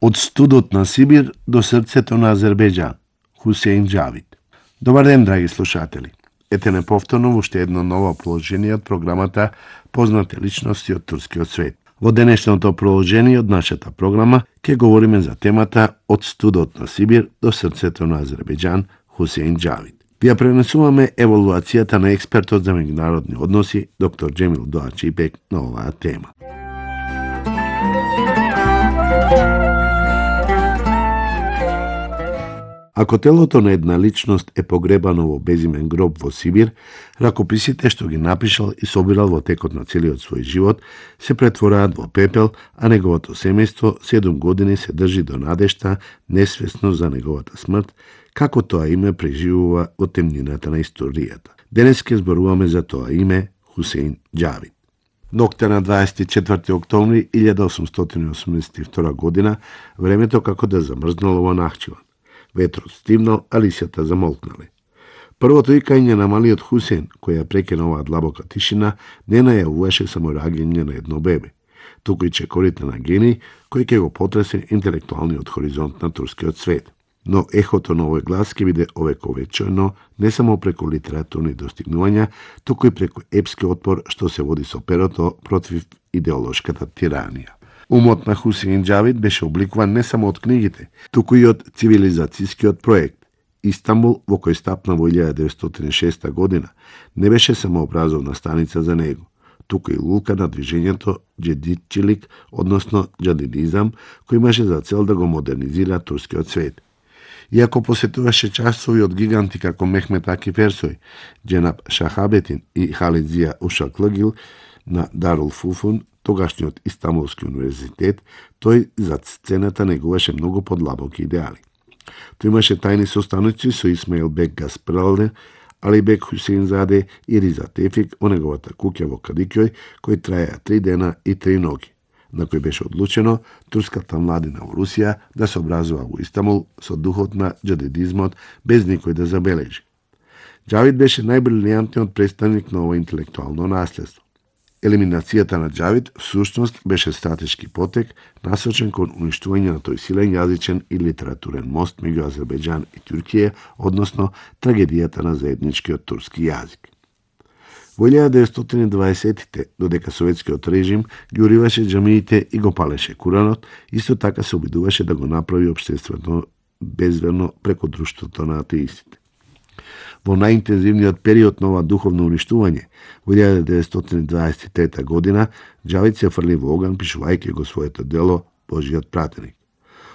Од студот на Сибир до срцето на Азербејџан. Хусеин Џавид. Добар ден, драги слушатели. Ете неповторно уште едно ново положение од програмата Познати личности од турскиот свет. Во денешното проложение од нашата програма ќе говориме за темата Од студот на Сибир до срцето на Азербејџан, Хусеин Џавид. Ви ја пренесуваме евалуацијата на експертот за меѓународни односи, доктор Џемил Доачипек, на оваа тема. Ако телото на една личност е погребано во безимен гроб во Сибир, ракописите што ги напишал и собирал во текот на целиот свој живот се претвораат во пепел, а неговото семејство 7 години се држи до надежта, несвесно за неговата смрт, како тоа име преживува во темнината на историјата. Денес ќе зборуваме за тоа име Хусеин Џавид. Ноќта на 24 октомври 1882 година, времето како да замрзнало во Нахчиван. Ветрот стивнал, а лисјата замолкнале. Првото икање на малиот Хусеин, кој ја прекина оваа длабока тишина, не најавуваше само раѓање на едно бебе, туку и чекорите на гений, кој ќе го потресе интелектуалниот хоризонт на турскиот свет. Но ехото на овој глас ќе биде овековечено не само преку литературни достигнувања, туку и преку епски отпор што се води со перото против идеолошката тиранија. Умот на Хусеин Џавид беше обликуван не само од книгите, туку и од цивилизацијскиот проект. Истанбул, во кој стапна во 1906 година, не беше само образовна станица за него, туку и лулка на движењето џедидчилик, односно џадидизам, кој имаше за цел да го модернизира турскиот свет. Иако посетуваше часови од гиганти како Мехмет Акиф Ерсој, Џенаб Шахабетин и Халидзија Ушаклыгил на Дарул Фуфун, тогашниот Истанбулски универзитет, тој зад сцената негуваше многу подлабоки идеали. Тој имаше тајни состаноци со Исмаил Бек Гаспралде, Алибек Хусеинзаде и Риза Тефик во неговата куќа во Кадикјој, кој траја 3 дена и 3 ноги, на кој беше одлучено турската младина во Русија да се образува во Истанбул со духот на џадидизмот без никој да забележи. Џавид беше најбрилијантниот представник на ова интелектуално наследство. Елиминацијата на Џавид всушност беше стратешки потек насочен кон уништување на тој силен јазичен и литературен мост меѓу Азербејџан и Туркија, односно трагедијата на заедничкиот турски јазик. Во 1920-тите, додека советскиот режим ги уриваше џамиите и го палеше Куранот, исто така се обидуваше да го направи општествено безверно преку друштвото на атеистите. Во најинтензивниот период на ова духовно уништување, во 1923 година, Џавид се фрли во оган пишувајќи го своето дело Божиот пратеник.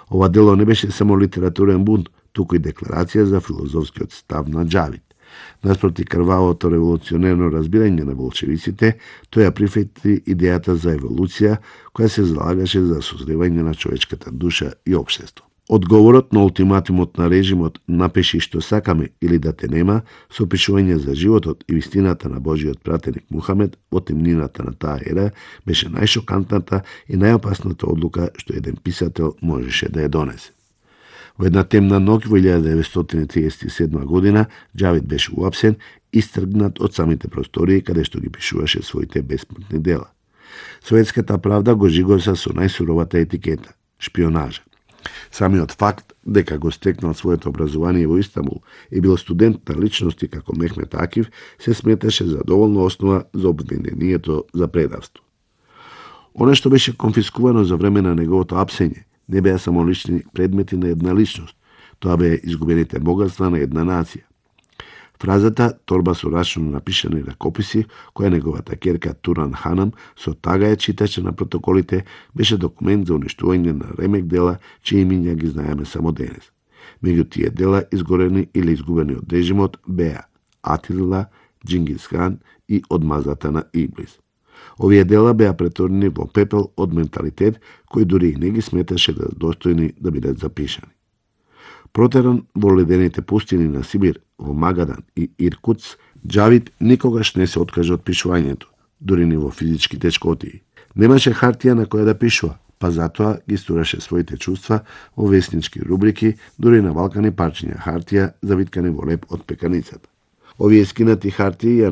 Ова дело не беше само литературен бунт, туку и декларација за филозофскиот став на Џавид. Наспроти крвавото револуционерно разбирање на болшевиците, тој ја прифати идејата за еволуција, која се залагаше за созревање на човечката душа и општество. Одговорот на ултиматумот на режимот "напиши што сакаме или да те нема", со опишување за животот и вистината на Божиот пратеник Мухамед во темнината на таа ера, беше најшокантната и најопасната одлука што еден писател можеше да ја донесе. Во една темна ноќ во 1937 година, Џавид беше уапсен, истргнат од самите простории каде што ги пишуваше своите бесмртни дела. Советската правда го жигоса со најсуровата етикета – шпионажа. Самиот факт дека го стекнал своето образование во Истанбул и бил студент на личности како Мехмет Акиф се сметаше за доволна основа за обвинението за предавство. Оно што беше конфискувано за време на неговото апсење не беа само лични предмети на една личност, тоа беа изгубените богатства на една нација. Фразата "торба со рачно напишани ракописи", која неговата ќерка Туран Ханам со тага ја читаше на протоколите, беше документ за уништување на ремек дела, чии имиња ги знаеме само денес. Меѓу тие дела изгорени или изгубени од режимот беа Атила, Џингис Хан и Одмазата на Иблис. Овие дела беа претворени во пепел од менталитет кој дури и не ги сметаше да достојни да бидат запишани. Протеран во ледените пустини на Сибир, во Магадан и Иркутс, Џавид никогаш не се откажа од пишувањето, дури ни во физички тешкотии. Немаше хартија на која да пишува, па затоа ги стураше своите чувства во веснички рубрики, дури на валкани парчиња хартија завиткани во леп од пеканицата. Овие скинати хартии ја